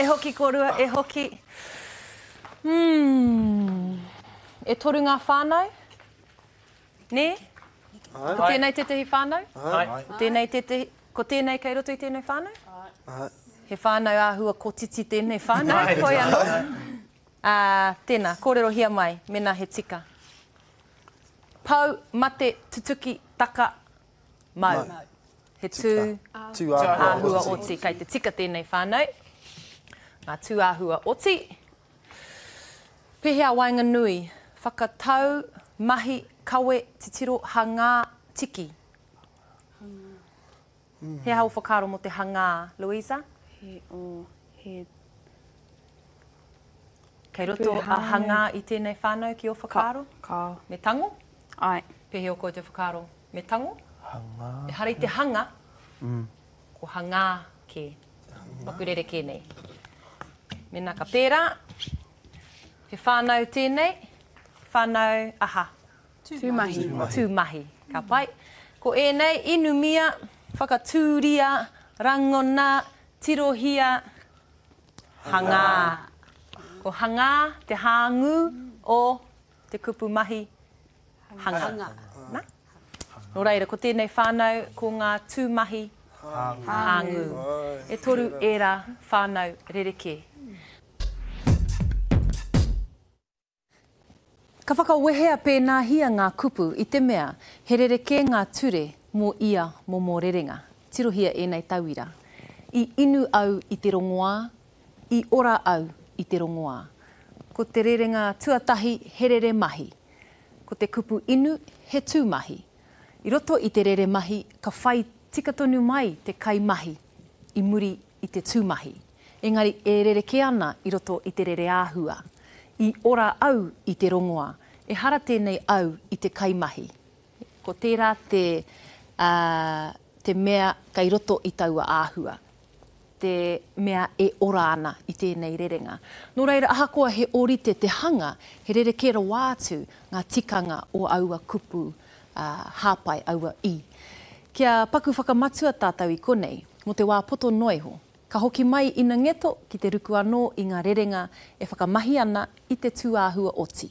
hoki kōrua, e hoki. Umm. E toru ngā whānau? Nē? Ko tēnei tētehi whānau? Āe. Ko tēnei tētehi, ko tēnei kei roto i tēnei whānau? Āe. He whānau āhua kotiti tēnei whānau, hoi anō. Ā, tēnā, kōrerohia mai, mēnā he tika. Pou, mate, tutuki, taka, mau. He tū, āhua oti. Kei te tika tēnei whānau. Ngā tū āhua oti. Pēhea waenganui, whakatau, mahi, kawe, titiro, hangā, tiki? He aha ō whakaaro mō te hangā, Louisa? He, oh, he. Kei roto a hangā i tēnei whānau ki ō whakaaro? Ka, kao. Me tango? Āe. Pēhea ō koutou whakaaro? Me tango? Hangā. Ehara i te hanga, ko hangā kē. Paku rerekē nei. Mēnā ka pērā, he whānau tēnei, whānau aha? Tūmahi. Tūmahi. Ka pai. Ko ēnei, inumia, whakatūria, rangona, tirohia, hangā. Ko hangā te hāngū o te kupu mahi hanga. Hanga. Na? Nō reira, ko tēnei whānau, ko ngā tūmahi hāngū. E toru ērā whānau rerekē. Ka whakawehea pēnāhia ngā kupu i te mea he rerekē ngā ture mō ia momo rerenga. Tirohia ēnei tauira. I inu au i te rongoā, i ora au i te rongoā. Ko te rerenga tuatahi he rere mahi. Ko te kupu inu he tūmahi. I roto i te rere mahi ka whai tika tonu mai te kaimahi i muri i te tūmahi. Engari e rerekē ana i roto i te rereāhua. I ora au i te rongoa. Ehara tēnei au i te kaimahi. Ko tērā te, ā, te mea kei roto i taua āhua. Te mea e ora ana i tēnei rerenga. Nō reira, ahakoa he ōrite te hanga, he rerekē rawa atu ngā tikanga o aua kupu, ā, hāpai, aua i. Kia paku whakamatua tātou i konei, mō te wā poto noa iho. Ka hoki mai ina ngeto ki te ruku anō i ngā rerenga e whakamahi ana i te tūāhua oti.